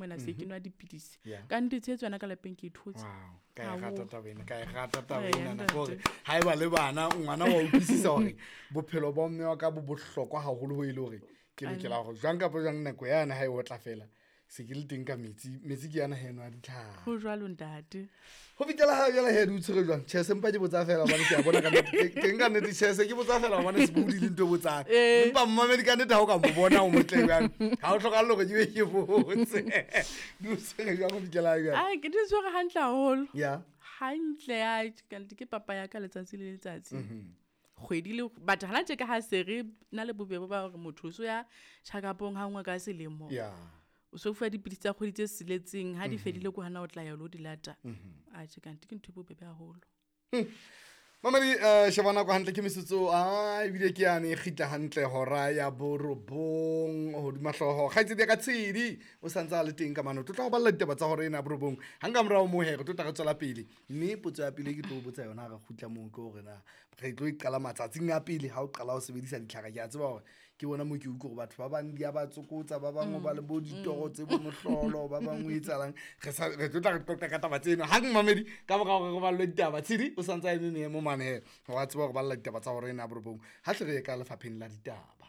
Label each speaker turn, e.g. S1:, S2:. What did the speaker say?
S1: mona se ke nwa dipidisi. Ka nnete tshehetso yona ka lapeng ke e thotse.
S2: Wow, ka e rata taba ena, ka e rata taba ena gore ha eba le bana ngwana wa utlwisisa hore bophelo ba mme wa ka bo bohlokwa haholo ho e le hore ke lokela hore jwang kapa jwang nako yane ha e otla fela se ke le teng ka metsi, metsi ke yana heno a ditlhare.
S1: Ho jwalo ntate.
S2: Ho fihlela ha jwale he di o tshwere jwang? Tjhe, se mpa ke botsa fela hobane ke a bona ka nnete, teng ka nnete tjhe, se ke botsa fela hobane sebohodi le ntho e botsang. Empa mmamedi ka nnete ha o ka mo bona o motle jwang, ha o hlokahale hore ke be ke botse. Di o tshwere jwang ho fihlela ha jwale?
S1: Ai, ke di tshwere hantle haholo.
S2: Ya.
S1: Hantle, ai, ka nnete ke papa ya ka letsatsi le letsatsi. Kgwedi le but hana tje ka ha se re na le bobebe ba hore motho o so ya check-upong ha nngwe ka selemo.
S2: Ya.
S1: O so fuwa dipidisi tsa kgwedi tse siletseng, ha di fedile ko hana o tla ya lo di lata. Atjhe, kanti ke ntho e bobebe haholo.
S2: Mamedi, sheba nako hantle ke metsotso, a ebile ke yane e kgitla hantle hora ya borobong hodima hlooho. Kgaitsedi ya ka Tshedi o santse a le teng ka mane, o tlo tla ho balla ditaba tsa hora ena ya borobong. Hang ka morao moo he, re tlo tla re tswela pele. Mme potso ya pele e ke tlo o botsa yona ha re kgutla moo ke hore na re tlo e qala matsatsing a pele ha o qala ho sebedisa ditlhare. Ke a tseba hore ke bona moo ke utlwe hore batho ba bang di a ba tsokotsa, ba bang ba le bo ditoro tse bo mohlolo, ba bang o etsahalang. Re sa, re tlo tla re qoqa ka taba tseno hang mamedi ka mora hore re ballwe ditaba. Tshedi o santse a eme meemo mane he, wa tseba hore balla ditaba tsa hora ena ya borobong. Ha hle re ye ka lefapheng la ditaba.